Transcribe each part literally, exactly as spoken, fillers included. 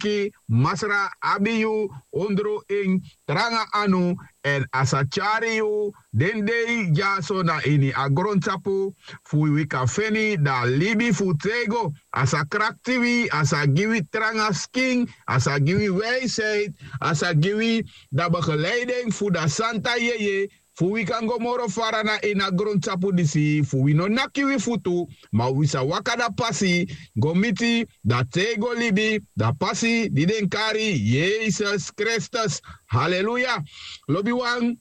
taki Masra abi yu ondro en tranga anu, èn a sa tyari yu den dei dyaso na ini a grontapu, fu wi kan feni dan libi fu tego. A sa krakti wi, a sa gi wi tranga skin, a sa gi wi wijsheid, a sa gi wi dan begeleiding fu dan santa yeye, fu wi kan go moro fara na ini a grontapu disi, fu wi no naki wi futu, ma wi sa waka dan pasi go miti dan tego libi, dan pasi di den kari Yesus Kristus. Haleluya. Lobiwan,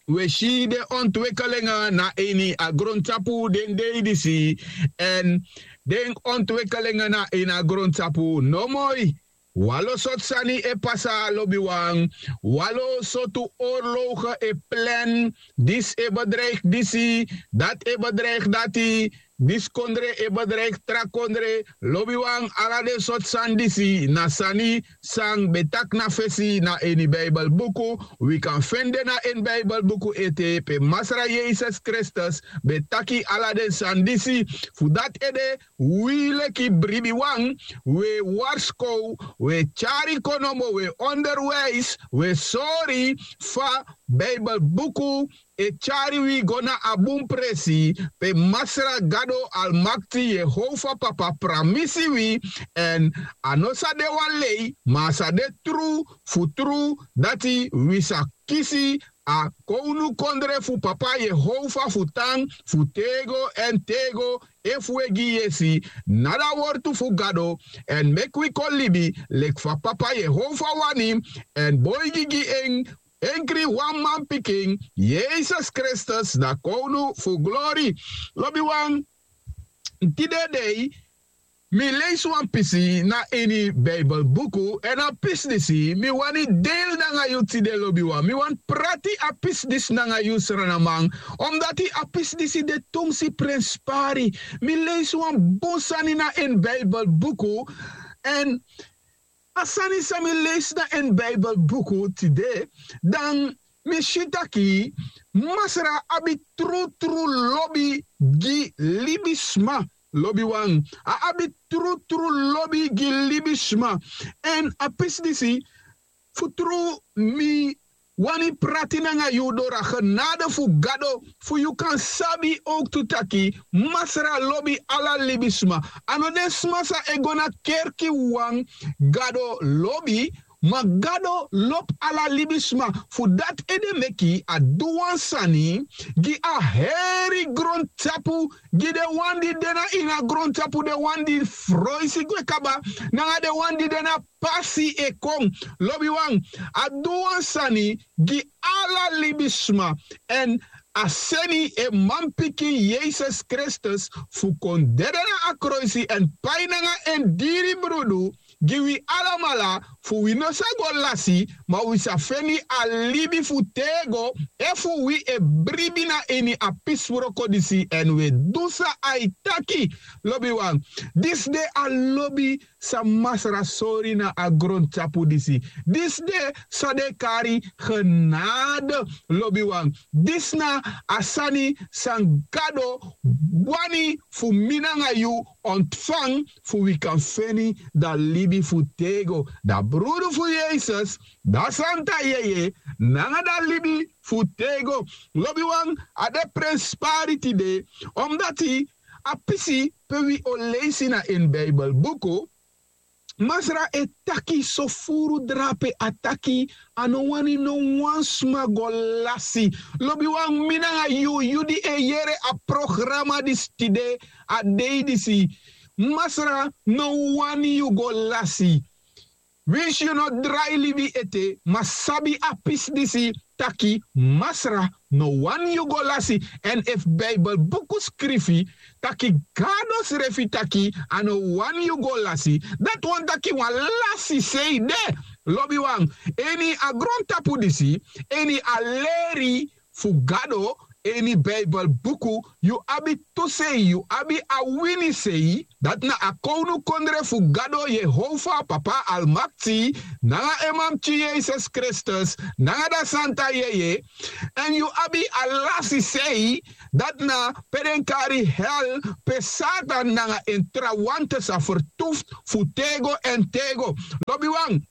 wi e si den ontwekelenge na ini a grontapu den dei disi. Èn den ontwekelenge na ini a grontapu no moi. Wan lo sortu sani e pasa, lobiwan. Wan lo sortu oorloge e plan. Disi e bedreig disi, dati e bedreig dati. Disi kondre e bedreig tra kondre. Lobiwan, ala den sortu sani disi na sani san ben taki na fesi na ini Bijbelbuku. Wi kan feni den na ini Bijbelbuku ete pe Masra Yesus Kristus ben taki ala den sani disi. Fu dati ede, wi leki bribiwan, wi e warskow, wi e tyari konomo, wi e onderwijs, wi e sori fa Bijbelbuku e tyari wi go na a bun presi, pe Masra Gado Almakti Yehova Papa pramisi wi. Èn a no sa de wan lei, ma a sa de tru fu tru, dati wi sa kisi a kownukondre fu Papa Yehova fu tan fu tego èn tego, efu wi e gi yesi na dan wortu fu Gado, èn meki wi kon libi leki fa Papa Yehova wani, èn boigi gi en enkri wan manpikin, Yesus Kristus, na kownu fu glori. Lobiwan, tide dei mi leisi wan pisi na ini Bijbelbuku, èn a pisi disi mi wani deili nanga yu tide, lobiwan. Mi wani prati a pisi disi nanga yu, sranaman, omdati a pisi disi de tumsi prenspari. Mi leisi wan bun sani na ini Bijbelbuku, èn a sani san mi leisi na ini Bijbelbuku tide, dan mi si taki Masra abi trutru lobi gi libisma. Lobiwan, a abi trutru lobi gi libisma. Èn a pisi disi, fu tru, mi wani prati nanga yu doro a genade fu Gado, fu yu kan sabi owktu taki Masra lobi ala libisma. A no den sma san e go na kerki wawan Gado lobi, ma Gado lobi ala libisma. Fu dati ede meki a du wan sani gi a heri grontapu, gi den wan di de na ini a grontapu, den wan di froisi gwe kaba, nanga den wan di de na pasi e kon. Lobiwan, a du wan sani gi ala libisma. Èn a seni en manpikin Yesus Kristus fu kon dede na a kroisi èn pai nanga en diri brudu gi wi alamala, fu wi no sa go lasi, ma wi sa feni a libi fu tego, efu wi e bribi na ini a pisi wroko disi èn wi e du san a e taki. Lobiwan, disi de a lobi san Masra sori na a grontapu disi. Disi de san den e kari genade, lobiwan. Disi na a sani san Gado wani fu mi nanga yu ontfan, fu wi kan feni dan libi fu tego, dan brudu fu Yesus, dan santa yeye, nanga dan libi fu tego. Lobiwan, a de prenspari tide, omdati a pisi pe wi o leisi na ini Bijbelbuku, Masra e taki so furu drape, a taki a no wani no wan sma go lasi. Lobiwan, mi nanga yu, yu di e yere a programa disi tide, a dei disi, Masra no wani yu go lasi. Winsi yu no drai libi ete, ma sabi a pisi disi, taki Masra no wani yu go lasi. Èn efu Bijbelbuku skrifi taki Gado srefi taki a no wani yu go lasi, dati wani taki wan lasi sei de. Lobiwan, ini a grontapu disi, ini a leri fu Gado, ini Bijbelbuku, yu abi tu sei, yu abi a wini sei, dati na a kownukondre fu gado yehova papa almakti, nanga en manpikin yesus kristus, nanga dan santa yeye. Èn yu abi a lasi sei, dati na pe den kari hel, pe satan nanga en trawante sa fertufu fu tego èn tego. Lobiwan,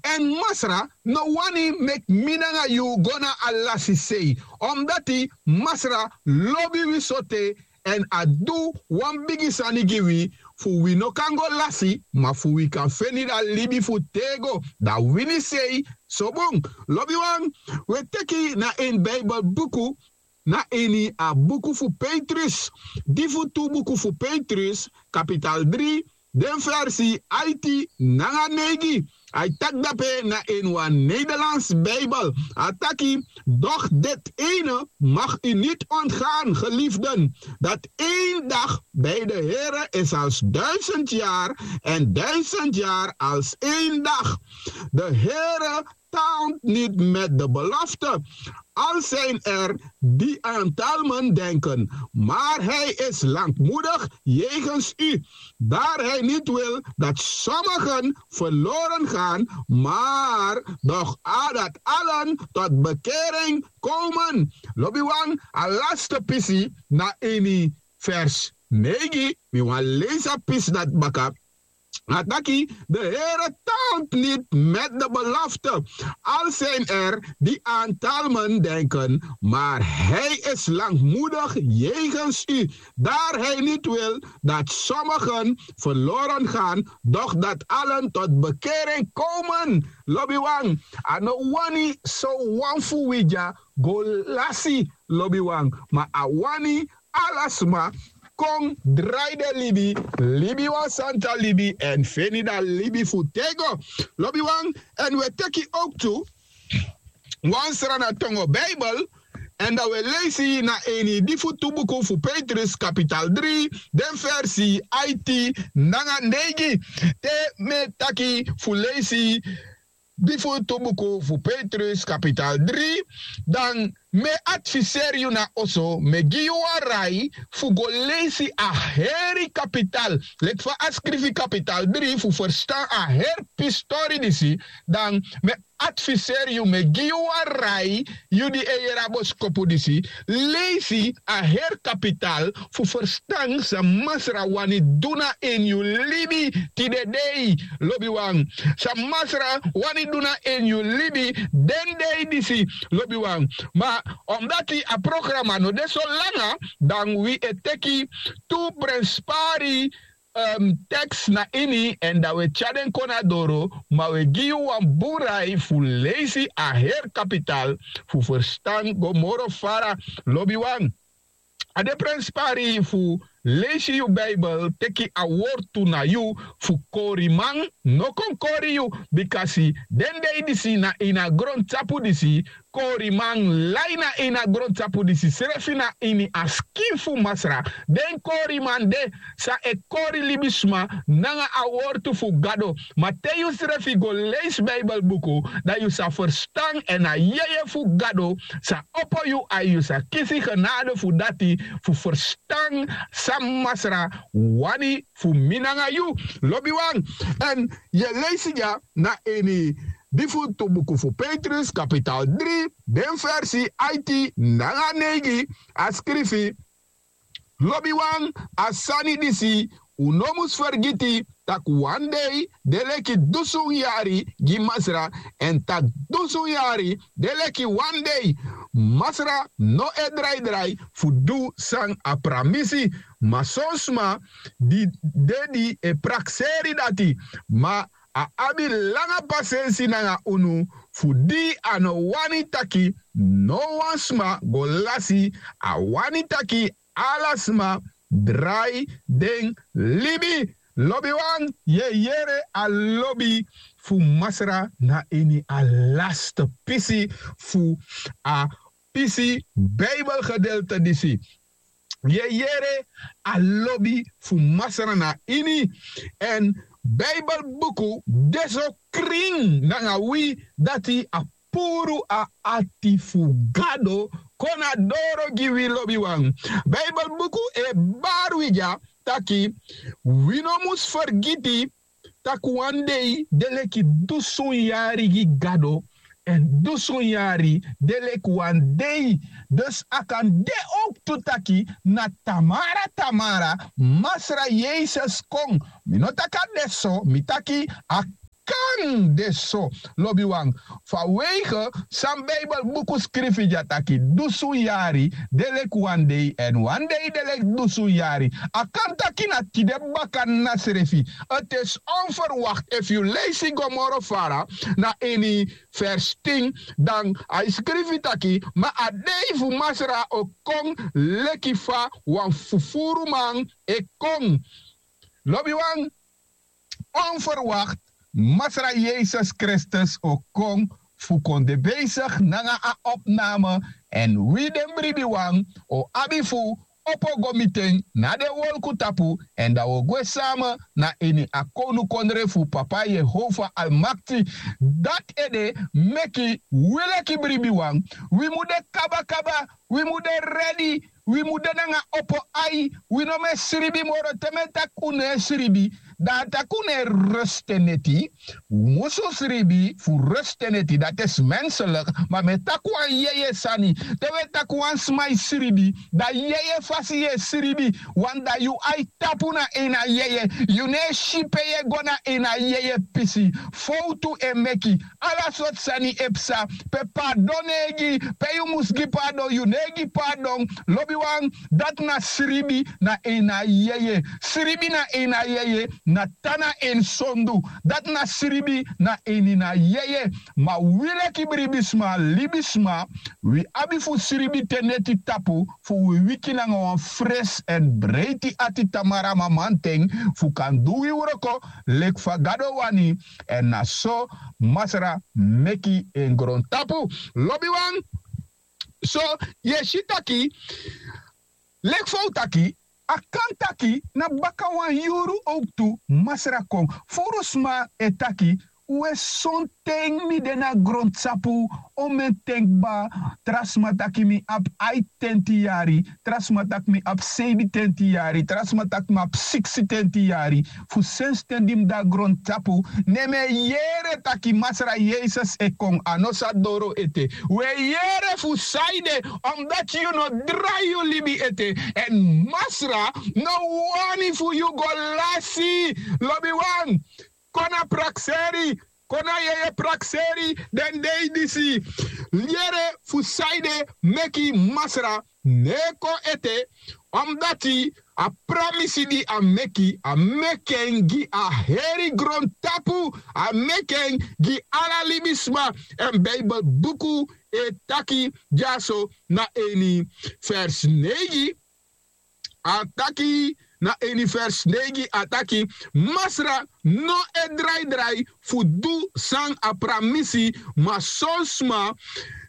èn masra no wani meki mi nanga yu go na a lasi sei, omdati masra lobi wi sote, èn a du wan bigi sani gi wi, fu wi no kan go lasi ma fu wi kan feni dan libi fu tego, dan wini sei. So bun, lobiwan, wi e teki na ini bibelbuku, na ini a buku fu petrus, di fu tu buku fu petrus kapital dri, den versi aiti nanga neigi. A e taki dape na ini wan nederlands bibel, a taki: doch dit ene mag u niet ontgaan, geliefden, dat één dag bij de Heere is als duizend jaar en duizend jaar als één dag. De Heere taalt niet met de belofte, al zijn er die aan talmen denken, maar hij is langmoedig jegens u, daar hij niet wil dat sommigen verloren gaan, maar doch dat allen tot bekering komen. Lobiwan, a laste pisi na ini vers neigi, mi wan leisi a pisi dati baka. A taki: de Heere taalt niet met de belofte, al zijn er die aan talmen denken, maar hij is langmoedig jegens u, daar hij niet wil dat sommigen verloren gaan, doch dat allen tot bekering komen. Lobiwan, a no wani so wan fu wi dya go lasi, lobiwan, ma a wani ala sma kon drai den libi, libi wan santa libi èn feni dan libi fu tego. Lobiwan, èn wi e teki owktu wan srana tongo bibel, èn dan wi e leisi na ini di fu tu buku fu petrus kapital dri, den versi aiti nanga neigi. Te mi e taki fu leisi di fu tu buku fu petrus kapital dri, dan mi e adviseri yu na oso, mi e gi yu wan rai fu go leisi a heri kapital, leki fa a skrifi kapital dri, fu ferstan a heri pistori disi. Dan mi e adviseri yu, mi e gi yu wan rai, yu di e yere a boskopu disi, leisi a heri kapital fu ferstan san masra wani du na ini yu libi tide dei, lobiwan. San masra wani du na ini yu libi den dei disi, lobiwan. Ma omdati a programa no de so langa, dan wi e teki tu prenspari, um, teks na ini, èn dan wi e tyari den kon na doro, ma wi e gi yu wan bun rai fu leisi a heri kapital fu ferstan go moro fara, lobiwan. A de prenspari fu leisi yu bibel, teki a wortu na yu, fu koriman no kon kori yu, bikasi den dei disi na ini a grontapu disi, koriman lai na ini a grontapu disi srefi na ini a skin fu masra. Den koriman de san e kori libisma nanga a wortu fu gado. Ma te yu srefi go leisi bibelbuku, dan yu sa ferstan èn a yeye fu gado sa opo yu, ai yu sa kisi genade fu dati, fu ferstan san masra wani fu mi nanga yu, lobiwan. Èn yu e leisi dya na ini di fu tu buku fu petrus kapital dri, den versi aiti nanga neigi, a skrifi: lobiwan, a sani disi un no mus fergiti, tak' wan dei de leki dusun yari gi masra, èn tak' dusun yari de leki wan dei. Masra no e draidrai fu du san a pramisi, ma son sma di de di e prakseri dati. Ma a abi langa pasensi nanga unu, fu di a no wani taki no wan sma go lasi, a wani taki ala sma drai den libi. Lobiwan, yu e yere a lobi fu masra na ini a laste pisi fu a pisi bibelgedeelte disi. Yu e yere a lobi fu masra na ini. Èn bibelbuku de so krin nanga wi, dati a puru a ati fu gado kon na doro gi wi, lobiwan. Bibelbuku e bari wi dya taki wi no mus fergiti tak' wan dei de leki dusun yari gi gado, èn dusun yari de leki wan dei. Dus a kan de owktu taki na tamara tamara Masra Yesus kon. Mi no taki a de so, mi taki a kan de so, lobiwan. Fa weige san Bijbelbuku skrifi dya taki dusun yari de leki wan dei èn wan dei de leki dusun yari. A kan taki na tide baka na srefi. Ti is onverwacht efu yu leisi go moro fara na ini vers tin, dan a e skrifi taki ma a dei fu Masra o kon leki fa wan fufuruman e kon. Lobiwan, onverwacht Masra Yesus Kristus o kon fu kon de besigi nanga a opname, èn wi den bribiwan o abi fu opo go miti en na den wolku tapu, èn dan wi o gwe same na ini a kownukondre fu Papa Yehova Almakti. Dati ede meki wi leki bribiwan wi mu de kabakaba, wi mu de redi, wi mu de nanga opo ai. Wi no mu e sribi moro. Te mi e taki un no e sribi, dan a taki un no e rus te neti. Un musu sribi fu rus te neti, dati e si menselik. Ma mi e taki wan yeye sani. Te wi e taki wan sma e sribi, dan yeye fasi yu e sribi. Wan dan yu ai tapu na ini a yeye. Yu no e si pe yu e go na ini a yeye pisi. Fowtu e meki. Ala sortu sani e psa. Pe pardon no e gi, pe yu mus gi pardon yu no e gi pardon. Lobiwan, dati na sribi na ini a yeye. Sribi na ini a yeye na tan na en sondu. Dati na sribi na ini na yeye. Ma wi leki bribisma, libisma, wi abi fu sribi te neti tapu fu wi wiki nanga wan fresi èn breiti ati tamara mamanten fu kan du wi wroko leki fa Gado wani. Èn na so Masra meki en grontapu. Lobiwan, so yu e si taki leki fa un taki, a kan taki na baka wan yuru owktu Masra kon. Furu sma e taki, we, sonten mi de na grontapu, omen ten kba. Tra sma taki mi abi aitenti yari, tra sma taki mi abi seibitenti yari, tra sma taki mi abi siksitenti yari. Fu sensi ten di mi de na grontapu, ne mi e yere taki Masra Yesus e kon, a no sa doro ete. Wi e yere fu sanede, omdati yu no drai yu libi ete. Èn Masra no wani fu yu go lasi. Lobiwan, kon na prakseri, kon na yeye prakseri den dei disi. Yere fu sanede meki Masra no e kon ete, omdati a pramisi di a meki, a meki en gi a heri grontapu, a meki en gi ala libisma. Èn Bijbelbuku e taki dyaso na ini vers neigi, a taki, na ini vers neigi a taki, Masra no e draidrai fu du san a pramisi, ma son sma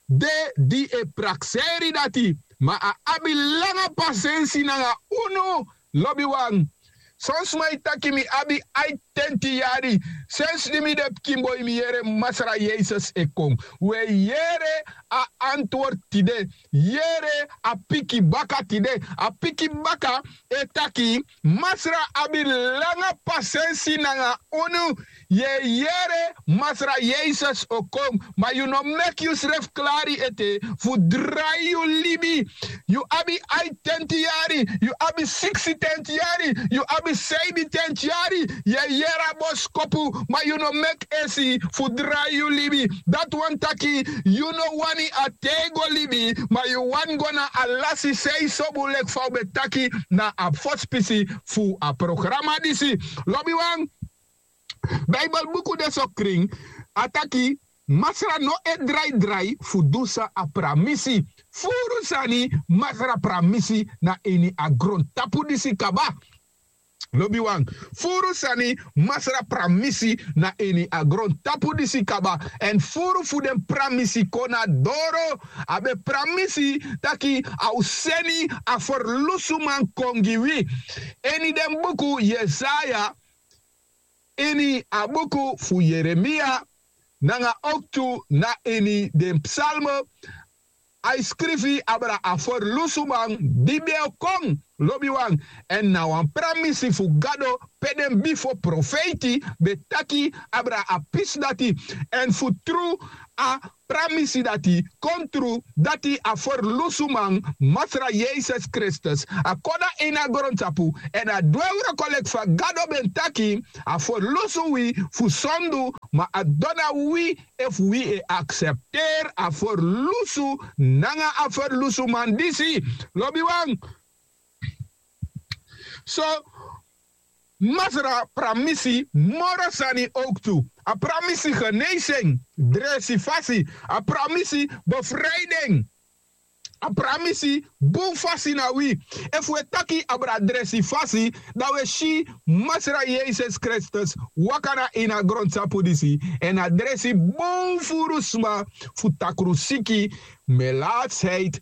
de di e prakseri dati, ma a abi langa pasensi nanga unu. Lobiwan, son sma e taki mi abi aitenti yari. Sensi di mi de pikinboi mi yere Masra Yesus e kon. Wi e yere a antwortu tide. Yere a piki baka tide. A piki baka e taki, Masra abi langa pasensi nanga unu. Yu e yere Masra Yesus o kon, ma yu no meki yusrefi klari ete fu drai yu libi. Yu abi aitenti yari, yu abi siksitenti yari, yu abi seibitenti yari. Yu e yere a boskopu, ma yu no meki esi fu drai yu libi. Dati wani taki yu no wani a tego libi, ma yu wani go na a lasi sei sobun leki fa un ben taki na a fosi pisi fu a programa disi. Lobiwan, Bijbelbuku de so krin, a taki, Masra no e draidrai fu du san a pramisi. Furu sani Masra pramisi na ini a grontapu disi kaba. Lobiwan, furu sani Masra pramisi na ini a grontapu disi kaba. Èn furu fu den pramisi kon na doro. A ben pramisi taki a o seni a ferlusuman kon gi wi. Ini den buku Yesaya, ini a buku fu Yeremia, nanga owktu na ini den psalme, A e skrifi abra a ferlusuman di ben o kon, lobiwan. Èn na wan pramisi fu gado pe den bifo profeiti ben taki abra a pisi dati. Èn fu tru, a pramisi dati kon tru, dati a ferlusuman, Masra Yesus Kristus, a kon na ini a grontapu, èn a du en wroko leki fa gado ben taki. A ferlusu wi fu sondu, ma a dona wi efu wi e aksepteri a ferlusu nanga a ferlusuman disi. Lobiwan, so Masra pramisi moro sani owktu. A pramisi geneisi en, dresi fasi. A pramisi befrei den. A pramisi bun fasi na wi. Efu wi e taki abra dresi fasi, dan wi e si Masra Yesus Kristus waka na ini a grontapu disi, èn a dresi bun furu sma, fu takrusiki, melatsheid,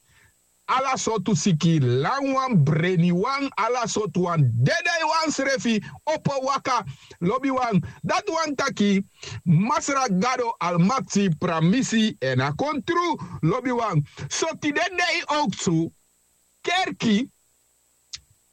ala sortu siki, lanwan, breniwan, ala sortu wan, dedeiwan srefi opo waka. Lobiwan, dati wani taki Masra Gado Almakti pramisi èn a kon tru. Lobiwan, so tide dei owktu kerki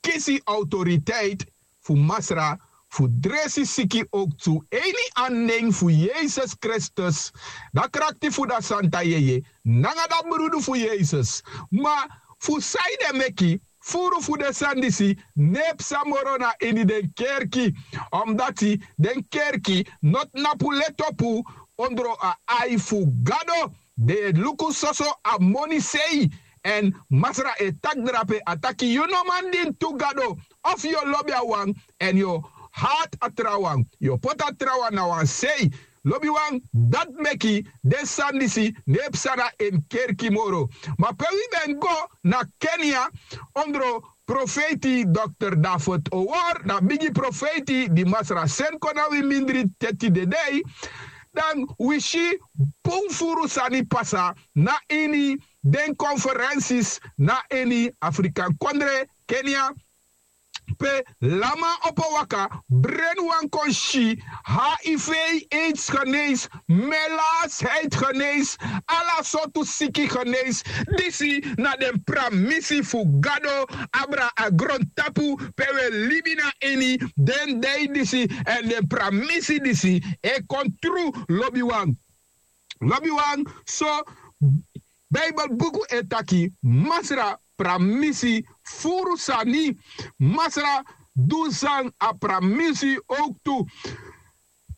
kisi autoriteit fu Masra fu dresi siki owktu, ini a nen fu Yesus Kristus, da krakti fu da santa yeye nanga da brudu fu Yesus. Ma fu sanede meki furu fu den sani disi no e psa moro na ini den kerki? Omdati den kerki no tnapu letopu ondro a ai fu Gado. Den e luku soso a moni sei. Èn Masra e taki drape, a taki yu no man dini tu gado. Efu yu o lobi a wan èn yu o hati a trawan, yu o poti a trawan na wan sei. Lobiwan, dati meki den sani disi no e psa na en kerki moro. Ma pe wi ben go na Kenia, ondro profeiti dokter David Owor, na bigi profeiti di Masra seni kon na wi mindri te tide dei, dan wi si bun furu sani pasa na ini den konferensis na ini Afrikan kondre, Kenia, pe lanman opo waka, brenwan kon si, H I V, aids genees, melatsheid genees, ala sortu siki genees. Disi na den pramisi fu Gado abra a grontapu pe wi e libi na ini den dei disi, èn den pramisi disi e kon tru. Lobiwan, lobiwan, so Bijbel buku e taki Masra pramisi furu sani. Masra du san a pramisi owktu.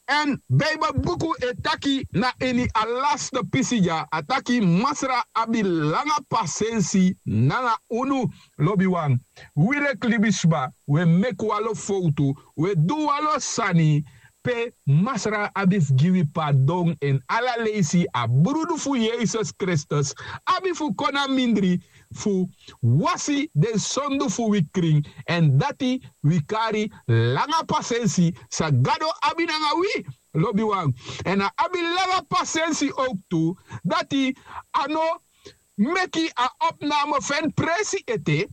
Èn Bijbel buku e taki na ini a laste pisi dya, a taki Masra abi langa pasensi nanga unu. Lobiwan, wi leki libisma, wi e meki wan lo fowtu, wi e du wan lo sani pe Masra abi fu gi wi pardon. Èn ala leisi a brudu fu Yesus Kristus abi fu kon na mindri fu wasi den sondu fu wi krin. Èn dati wi kari langa pasensi san Gado abi nanga wi. Lobiwan, èn a abi langa pasensi owktu. Dati a no meki a opname feni presi ete,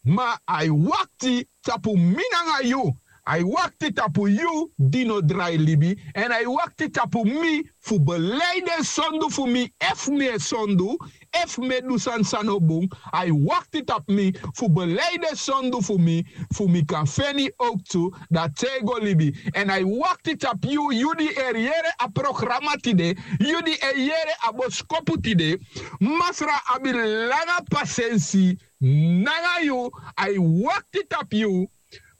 ma a e wakti tapu mi nanga yu. A e wakti tapu yu di no drai libi, èn a e wakti tapu mi fu belei den sondu fu mi, efu mi e sondu, efu mi e du sani san no bun. A e wakti tapu mi fu belei den sondu fu mi, fu mi kan feni owktu da tego libi. Èn a e wakti tapu yu, yu di e yere a programa tide, yu di e yere a boskopu tide. Masra abi langa pasensi nanga yu, a e wakti tapu yu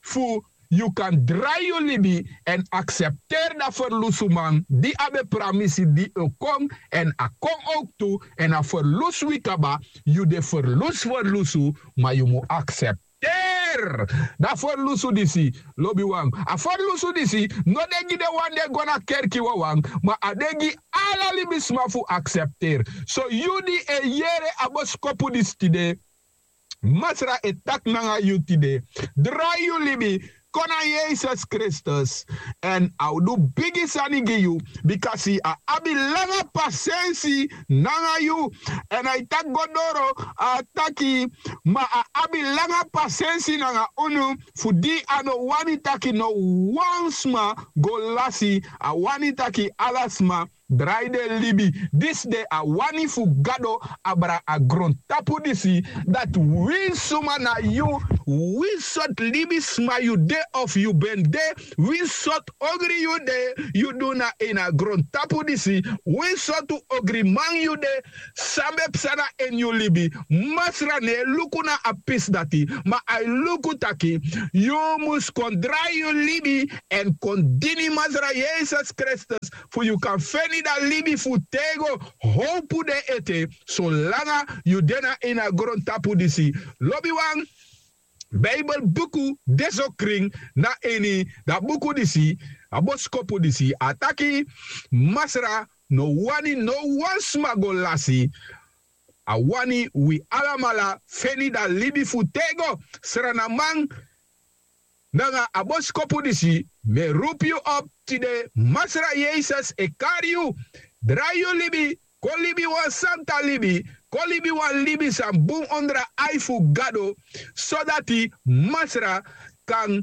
fu yu kan drai yu libi èn aksepteri da ferlusuman di a ben pramisi di o kon, èn a kon owktu, èn a ferlusu wi kaba. Yu de ferlusu ferlusu, ma yu mu aksepteri da ferlusu disi. Lobiwan, a ferlusu disi no de gi den wan di e go na kerki wawan, ma a de gi ala libisma fu aksepteri. So yu di e yere a boskopu disi tide, Masra e taki nanga yu tide, drai yu libi, kon na Yesus Kristus, èn a o du bigi sani gi yu, bikasi a abi langa pasensi nanga yu. Èn a e taki go doro, a taki, ma a abi langa pasensi nanga unu, fu di a no wani taki no wan sma go lasi, a wani taki ala sma drai den libi. Disi de a wani fu gado abra a grontapu disi, dati wi suma na yu, wi sortu libisma yu de of yu ben de, wi sortu ogri yu de, yu du na ini a grontapu disi, wi sortu ogriman yu de, san ben psa na ini yu libi. Masra no e luku na a pisi dati, ma a e luku taki yu mus kon drai yu libi èn kon dini Masra Yesus Kristus, fu yu kan feni dan libi fu tego. Howpu de ete solanga yu de na ini a grontapu disi. Lobiwan, Bijbel buku de so krin na ini dan buku disi, a boskopu disi, a taki: Masra no wani no wan sma go lasi. A wani wi alamala feni dan libi fu tego. Sranaman, nanga a boskopu disi, mi e rupu yu op tide. Masra Yesus e kari yu. Drai yu libi, kon libi wan santa libi, kon libi wan libi san bun ondro a ai fu Gado, sodati Masra kan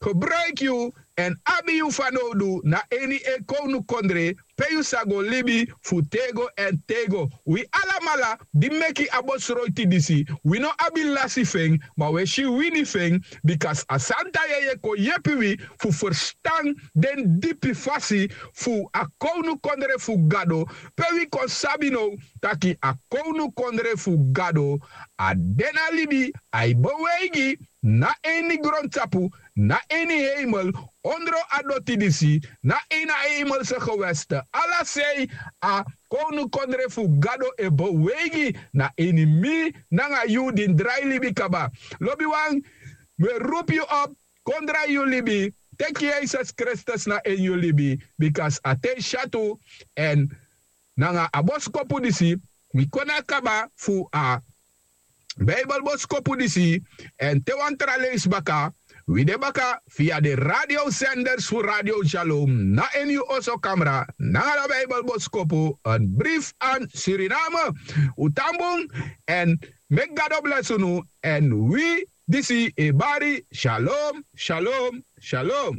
gebruiki yu èn abi yu fanowdu na ini en kownukondre, pe yu sa go libi fu tego èn tego. Wi alamala di meki a bosroiti disi, wi no abi lasi fu en, ma wi e si wini fu en, bika a santa yeye kon yepi wi fu ferstan den dipi fasi fu a kownukondre fu Gado, pe wi kon sabi now taki a kownukondre fu Gado a de na libi, a e beweigi na ini grontapu, na ini heimel, ondro a doti disi, na ini a heimelse geweste. Ala sei a kownukondre fu Gado e beweigi na ini mi nanga yu di drai libi kaba. Lobiwan, mi e rupu yu op, kon drai yu libi, teki Yesus Kristus na ini yu libi, bika a ten syatu. Èn nanga a boskopu disi, wi kon na kaba fu a Bijbel boskopu disi, èn te wan tra leisi baka, wi de baka via de radiosenders fu Radio Shalom na ini yu oso kamra, nanga a Bijbel boskopu, een brief aan Suriname. Un tan bun, èn meki Gado blesi unu, èn wi disi e bari, shalom, shalom, shalom.